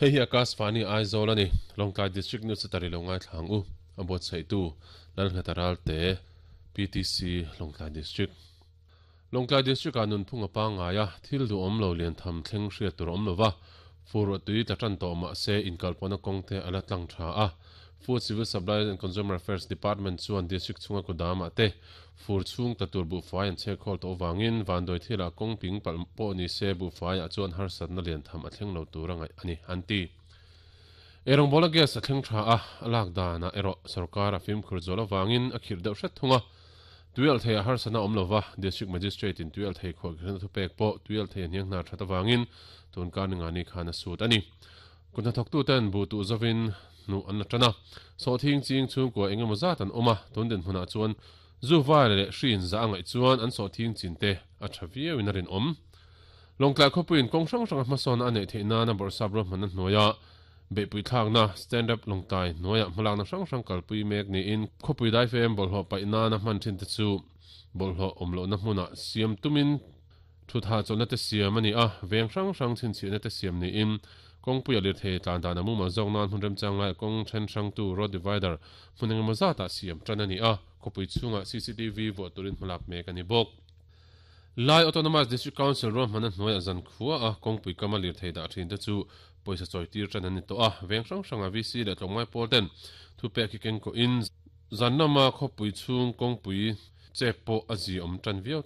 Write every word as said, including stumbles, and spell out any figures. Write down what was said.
Hei hi Akashvani Aizawl ani Lawngtlai District News tari lo ngai thlang u a buat sei tu Lalngheta Ralte P T C Lawngtlai District. Lawngtlai District a nunphung a pangaia thil du awm lo lian tham thleng hriat tur awm lova fur tui tla tan tawh ma se inkalpawhna kawng te ala tlang tha a. Food, Civil Supplies and Consumer Affairs Department chuan district chhunga kudama te fur chhung tla tur bu fai an che khol to wangin vandoi thila kawng ping pal pawh ni se bu fai a chuan harsatna lian tham a thleng lo tur angai ani anti. Erong bola gas a thleng tha a alak dana ero sarkar a fim khur zola wangin a khir deuh hret thunga. Tuial thei a harsana awm lova district magistrate in tuial thei kho khna thu pek pawh tuial thei hniang hnar thata wangin tun kar ninga ni khana sut ani. Kunna thok tu ten bu tu zawin nu an la tana so thing ching chung ko engemaw zat an awma tun den hmuna chuan zu vai le hrin za angai chuan an so thing chin te a thaviau in a rin awm. Lawngtlai khawpuiin kawng hrang hrang hmasawn a neih theih nana bawrhsap ro hman a hnuaia beihpui thlakna Stand Up Lawngtlai hnuaia hmalakna hrang hrang kalpui mek niin khawpui dai fem bawlhhlawh paih nana hman thin te chu bawlhhlawh awm lohna hmuna siam tumin thutha chawlhna te siam ani a. Veng hrang hrang chhinchhiahna te siam niin kawngpui a lirthei tlan dan a mumal zawk nan hmun remchang lai kawng then hrang tu road divider hmun engemaw zatah siam tan ani a. Khawpui chhungah C C T V vuah turin hmalak mek ani bawk. Lai Autonomous District Council ro hmana hnuaia zan khua a kawngpui kama lirthei dah thin te chu pawisa chawi tir tan ani tawh a. Veng hrang hranga V C leh tlawmngai pawl ten thu pek hi keng ko in zan lama khawpui chhung kawngpui che pawh a zi awm tan viau.